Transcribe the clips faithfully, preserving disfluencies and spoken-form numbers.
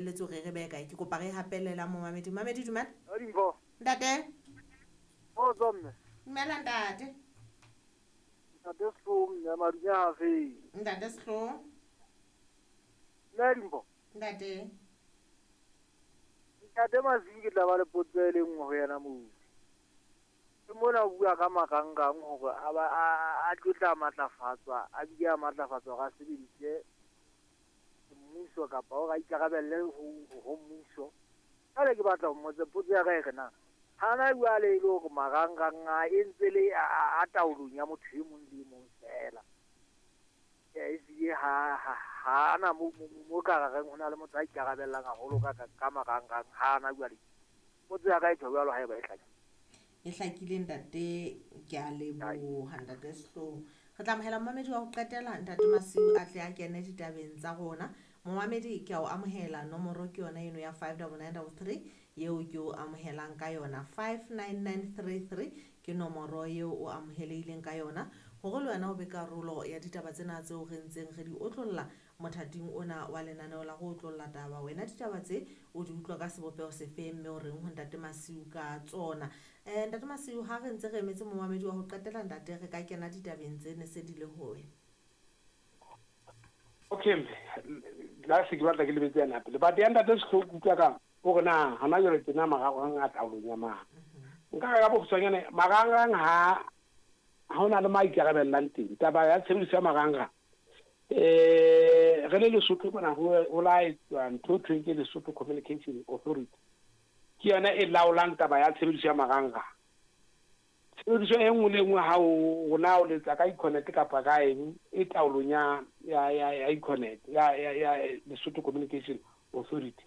Lebelletse hore re behe kae? Ke kopa re hapelela momamedi. Mamedi, dumela. Dimpho. Ntate. Kgotso, mme. Dumela, ntate. Ntate Sehlooho, mme, madume a fe. Ntate Sehlooho. Mme Dimpho. Ntate. Ntate Masiu, ke tla ba le potso e le nngwe ho yena moo. Ke mona o bua ka marangrang hore a ba a tlo tla matlafatswa, a bile a matlafatswa hore a sebedise mmuso kapa hore a ikarabelle ho ho mmuso. Jwale ke batla ho mmotsa potso ya ka e re na hana jwale e le hore marangrang a e ntse le a taolong ya motho e mong le e mong feela. Ehlile ha ha ana mo mo ka reng ho na le motho a ikarabellang haholo ka ka marangrang ha ana jwale. Potso ya ka e tjho jwalo haeba e hlakile. E hlakile, ntate, ke a leboha, ntate Sehlooho. Re tla amohela momamedi wa ho qetela, ntate Masiu, a tle a kene ditabeng tsa rona. Momamedi, ke a o amohela, nomoro ke yona eno ya five double nine double three eo ke o amohelang ka yona. five nine nine three three ke nomoro eo o amohelehileng ka yona hore le wena o be karolo ya ditaba tsena tseo re ntseng re di otlolla mothating ona wa lenaneo la go otlolla taba. Wena ditaba tse o di utlwa ka sebopeho sefe, mme o reng ho ntate Masiu ka tsona? Eh, ntate Masiu, ha re ntse re emetse momamedi wa ho qetela, ntate, re ka kena ditabeng tse ne se di le ho wena. Okay, la se ke batla ke lebetse yana pele. But ya ntate Sehlooho, ke utlwa ka hore na hona jwale tjena marangrang a taolong ya mang. Nka re ka bokgutshwanyane, marangrang ha ha hona le ma ikarabellang teng. Taba ya tshebediso ya marangrang, eh re le Lesotho mona ho ho la etswa ntho e thweng ke Lesotho Communication Authority. Ke yona e laolang taba ya tshebediso ya marangrang. Tshebediso e nngwe le e nngwe ha o na o letsa ka Econet kapa ka eng e taolong ya ya ya ya Econet ya ya ya Lesotho Communication Authority.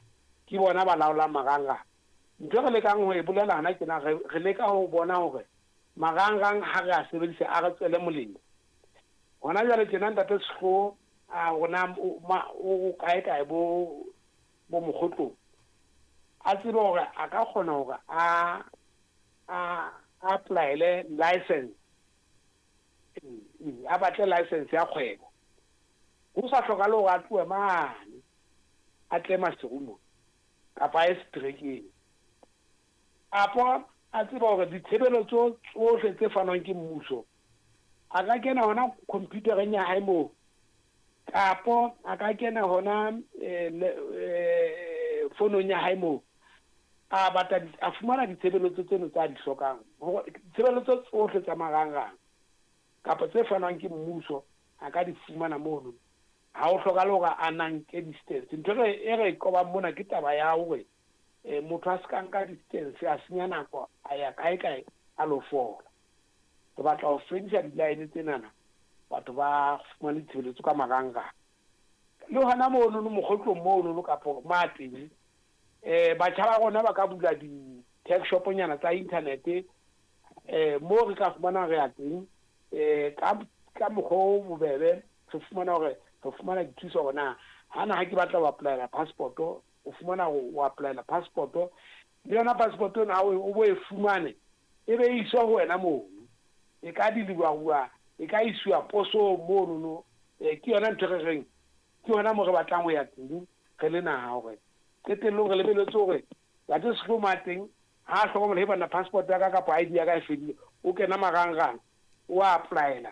Ke bona ba laolang marangrang. Ntho e re lekang ho e bolela hana tjena, re re leka ho bona hore marangrang ha re a sebedisa a re tswele molemo. Hona jwale tjena ntate Sehlooho a rona o kae kae bo bo mokgotlong, a tsebe hore a ka kgona hore a a apply-ele license, a batle license ya kgwebo. Ho sa hlokahale hore a tlohe mane a tle Maseru mona kapa a ye seterekeng. Kapo a tsebe hore ditshebeletso tsohle tse fanwang ke mmuso a ka kena hona computereng ya hae moo, kapo a ka kena hona eh fonong ya hae moo, a batla a fumana ditshebeletso tseno tsa di hlokang. Hore ditshebeletso tsohle tsa marangrang kapa tse fanwang ke mmuso a ka di fumana mono. Ha ho hlokahale hore a na nke distance. Ntho e re e qobang mona ke taba ya hore motho a se ka nka distance, a senya nako, a ya kae kae a lo fola. Re batla ho fedisa di-line tsenana, batho ba fumane ditshebeletso ka marangrang. Le hona mono mokgotlong mono kapa ma teng, eh batjha ba rona ba ka bula di-tech shop-nyana tsa internet, eh moo re ka fumana re ya teng, eh ka ka mokgwa o bobebe re fumana hore re fumana dithuso hore na hana ha ke batla ho apply-ela passport, o fumana hore o apply-ela passport, le yona passport ena ha o bo e fumane e be e iswa ho wena mono, e ka deliver-uwa, e ka iswa posong monono. Ke yona ntho e re reng ke yona moo re batlang ho ya teng re le naha, hore qetellong re lebelletse hore ntate Sehlooho ma teng ha a hlokomela he bana passport ya ka kapa I D ya ka e fedile, o kena marangrang o a apply-ela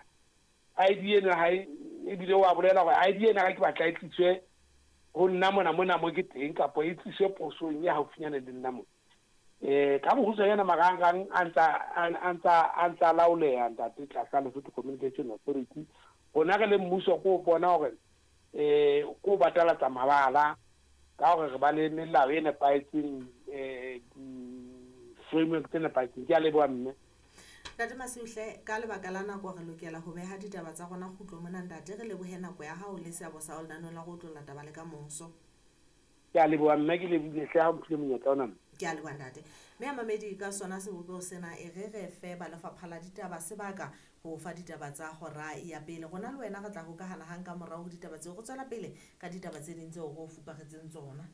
I D eno hae, ebile o a bolela hore I D ena ka ke batla e tliswe ho nna mona mona mo ke teng, kapa e tliswe posong e haufinyane le nna mona. Eh ka bokgutshwanyane marangrang a ntsa a ntsa a ntsa laoleha ntate tlasa Lesotho Communication Authority. Rona re le mmuso ko bona hore eh ko batalatsa mabala ka hore re ba le melao e nepahetseng, eh di-framework tse nepahetseng. Ke a leboha, mme. Ntate Masiu hle, ka lebaka la nako re lokela ho beha ditaba tsa rona kgutlo mona. Ntate, re lebohe nako ya hao le seabo sa lenaneong la go otlolla taba le ka moso. Ke a leboha, mme, ke lebohile hle ha o mphile monyetla ona, mme. Ke a leboha, ntate. Mme a mamedi, ka sona sebopeho sena e re re fe ba lefapha la ditaba sebaka ho fa ditaba tsa hora ya pele. Rona le wena re tla hokahana hang ka morao ho ditaba tseo, re tswela pele ka ditaba tse ding tseo re o fuparetseng tsona.